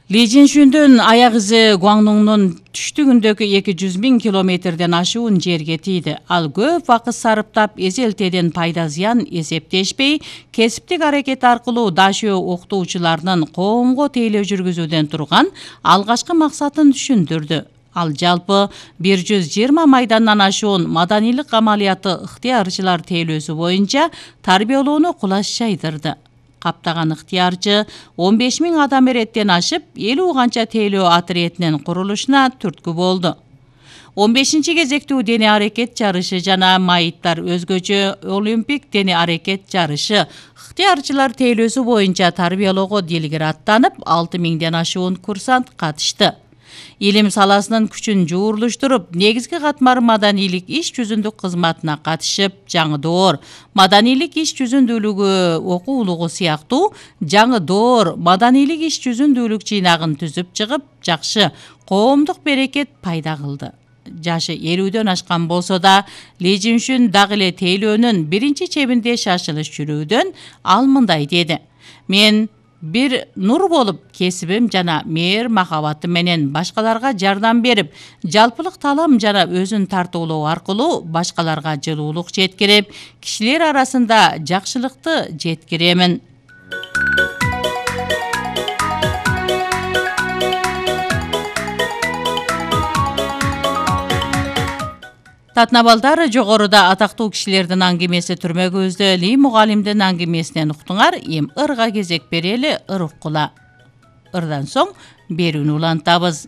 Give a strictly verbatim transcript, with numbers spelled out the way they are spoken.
Ли Жиншүндүн аяк изи Гуаңдуңдун түштүгүндөгү эки жүз миң километрден ашуун жерге тийди. Ал көп вакыт сарыптап, эзелтеден пайда зыян эсептешпей, кесиптик аракет аркылуу дашөө окутуучуларынын коомго тейлөө жүргүзүүдөн турган алгачкы максатын түшүндүрдү. Ал жалпы бир жүз жыйырма майдандан ашуун маданийлик амалияты ыктыярчылар тейлөөсү боюнча тарбиялоону кулаш жайдырды. Каптаган ыктыярчы он беш миң адам эреттен ашып, элүү канча тейлөө отрядынын курулушуна түрткү болду. он бешинчи кезектүү дене аракет жарышы жана майыттар өзгөчө олимпик дене аракет жарышы ыктыярчылар тейлөөсү боюнча тарбиялоого дилгир аттанып, алты миңден ашуун курсант катышты. Илим саласынын күчүн жуурлуштуруп, негизги катмар маданийлик иш жүзүндүк кызматына катышып, жаңы доор маданийлик иш жүзүндүүлүгү окуулугу сыяктуу жаңы доор маданийлик иш жүзүндүүлүк жыйнагын түзүп чыгып, жакшы коомдук берекет пайда кылды. Жашы элүүдөн ашкан болсо да, Ли Жиншүн дагы эле тейлөөнүн биринчи чебинде шашылыш жүрүүдөн ал мындай деди: "Мен бир нур болуп, кесибим жана мээр махабатым менен башкаларга жардам берип, жалпылык таалам жана өзүн тартуулоо аркылуу башкаларга жылуулук жеткирип, кишилер арасында жакшылыкты жеткиремин." Татнабалдар, жогоруда атактуу кишилердин аңгемеси түрмөгүбүздө Ли мугалимдин аңгемесинен уктуңар. Эми ырга кезек берели, ыр уккула. Ырдан соң берүүнү улантабыз.